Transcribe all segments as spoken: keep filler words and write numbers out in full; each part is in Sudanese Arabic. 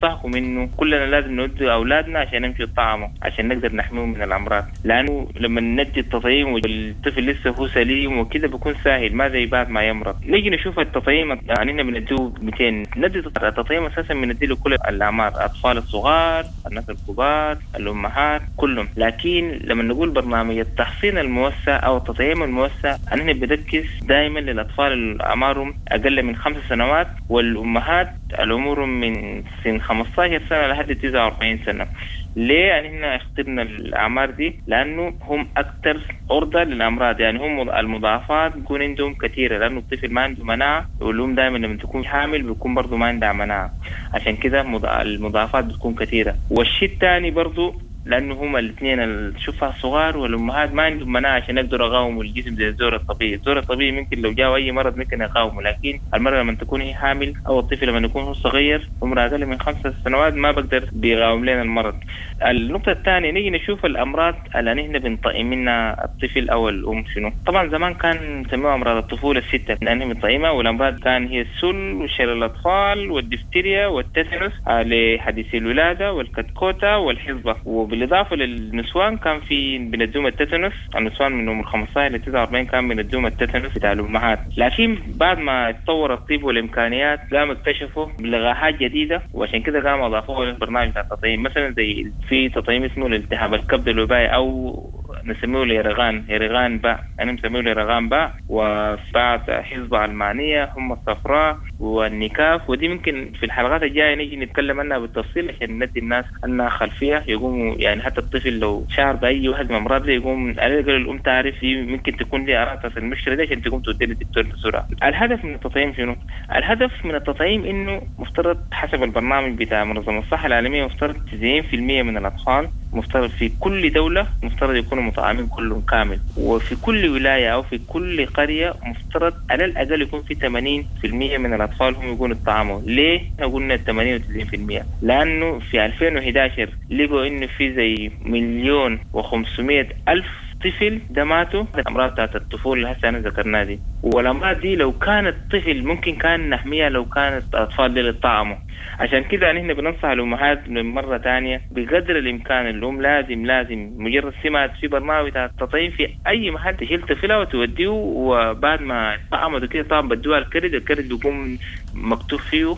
بننصحكم انه كلنا لازم نودي اولادنا عشان يمشوا يطعموا عشان نقدر نحميهم من الامراض، لانه لما ندي التطعيم والطفل لسه هو سليم وكده بيكون سهل، ما زي بعد ما يمرض. نيجي نشوف التطعيم، يعني احنا بنديه مئتين، ندي التطعيم اساسا بنديه لكل الاعمار، الاطفال الصغار، الناس الكبار، الامهات، كلهم. لكن لما نقول برنامج التحصين الموسع او التطعيم الموسع، احنا بنركز دائما للاطفال اللي اعمارهم اقل من خمس سنوات والامهات العمر من سن خمستاشر سنة لحد تسعة وأربعين سنة. ليه يعني احنا اخترنا الاعمار دي؟ لانه هم اكثر عرضه للامراض، يعني هم المضاعفات بيكون عندهم كثيرة، لانه الطفل ما عنده مناعة، والام دائما لما تكون حامل بيكون برضه ما عندها مناعة، عشان كده المضاعفات بتكون كثيرة. والشيء الثاني برضه لانه هم الاثنين الشفع الصغار والامهات ما عندهم مناعة عشان يقدروا يقاوموا الجسم زي الزور الطبيعي. الزور الطبيعي ممكن لو جاء اي مرض ممكن يقاومه، لكن المراة لما تكون هي حامل او الطفل لما يكون هو صغير عمره اقل من خمسة سنوات ما بقدر بيقاوم لنا المرض. النقطة الثانية نيجي نشوف الامراض اللي نحن بنطعم منها الطفل او الام شنو. طبعا زمان كان نسميها امراض الطفولة الستة لانها بنطعمها، والامراض كان هي السل وشلل الاطفال والدفتيريا والتتنس لحديث الولادة والكتكوته والحصبة. وبالاضافة للنسوان كان في بندوم التتنس، النسوان من عمر خمستاشر ل تسعة وأربعين كان بندوم التتنس بتاع الامهات. لكن بعد ما اتطور الطب والامكانيات قام اكتشفوا لقاحات جديدة، وعشان كده قاموا اضافوها للبرنامج بتاع التطعيم. مثلا زي في تطعيم اسمه الالتهاب الكبد الوبائي او نسميه اليرغان، يرغان باء، انا مسميه اليرغان باء، وبعد حصبة المانية، هم الصفراء والنكاف. ودي ممكن في الحلقات الجاية نيجي نتكلم عنها بالتفصيل عشان ندي الناس انها خلفية يقوموا، يعني حتى الطفل لو شعر باي واحد من الامراض دي يقوم على الاقل الام تعرف دي ممكن تكون دي اعراض المشكلة دي عشان تقوم تودي للدكتور بسرعة. الهدف من التطعيم شنو؟ الهدف من التطعيم انه مفترض حسب البرنامج بتاع منظمة الصحة العالمية مفترض تسعين بالمية من الاطفال مفترض في كل دولة مفترض يكونوا مطعمين كلهم كامل، وفي كل ولاية أو في كل قرية مفترض على الأقل يكون في ثمانين بالمية من الأطفال هم يكونوا اتطعموا. ليه قلنا ثمانين وتسعين بالمية؟ لأنه في ألفين وإحدى عشر لقوا إنه في زي مليون وخمسمية ألف طفل ده ماتوا الأمراض بتاعت الطفولة اللي هسه أنا ذكرناها دي. والأمراض دي لو كان الطفل ممكن كان نحميها لو كانت الأطفال دي اللي اتطعموا. عشان كده نحن بننصح الأمهات من مرة تانية بقدر الإمكان الأم لازم لازم مجرد سمعت في برنامج بتاع التطعيم في أي محل تشيل طفلها وتوديه، وبعد ما اتطعمت وكده طبعا بدوها الكرد، الكرد بيكون مكتوب فيه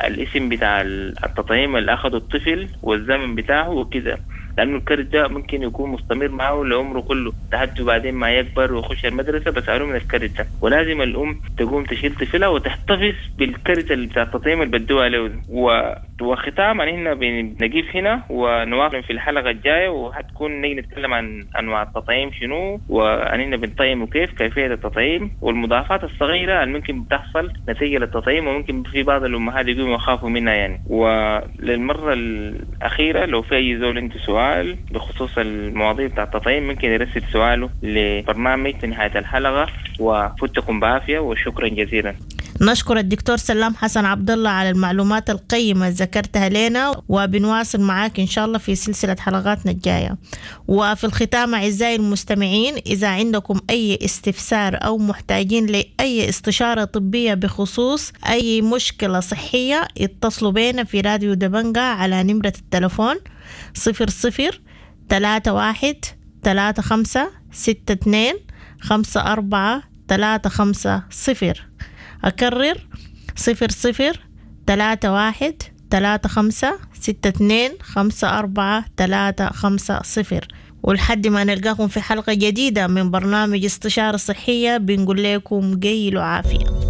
الاسم بتاع التطعيم اللي أخده الطفل والزمن بتاعه وكده، لأنه الكرد ده ممكن يكون مستمر معه لعمره كله لحد بعدين ما يكبر ويخش المدرسة بسألوه من الكرد ده. ولازم الأم تقوم تشيل طفلها وتحتفظ بالكرد اللي بتاع التطعيم اللي بدوها له. و... وختاما هنا بنقيف هنا ونواصل في الحلقة الجاية، وحتكون نيجي نتكلم عن أنواع التطعيم شنو، وأننا بنطعم وكيف كيفية التطعيم والمضاعفات الصغيرة اللي ممكن بتحصل نتيجة للتطعيم، وممكن في بعض الأمهات يقوموا يخافوا منها يعني. وللمرة الأخيرة لو في أي زول عنده سؤال بخصوص المواضيع بتاع التطعيم ممكن يرسل سؤاله لبرنامج في نهاية الحلقة. وفتكم بعافية وشكرا جزيلا. نشكر الدكتور سلام حسن عبد الله على المعلومات القيمة ذكرتها لنا، وبنواصل معاك إن شاء الله في سلسلة حلقاتنا الجاية. وفي الختام أعزائي المستمعين، إذا عندكم أي استفسار أو محتاجين لأي استشارة طبية بخصوص أي مشكلة صحية اتصلوا بينا في راديو دبنجة على نمرة التلفون صفر صفر ثلاثة واحد ثلاثة خمسة ستة اثنين خمسة أربعة ثلاثة خمسة صفر. أكرر صفر صفر ثلاثة واحد ثلاثة خمسة ستة اثنين خمسة أربعة ثلاثة خمسة صفر. ولحد ما نلقاكم في حلقة جديدة من برنامج استشارة صحية بنقول لكم قيلوا عافية.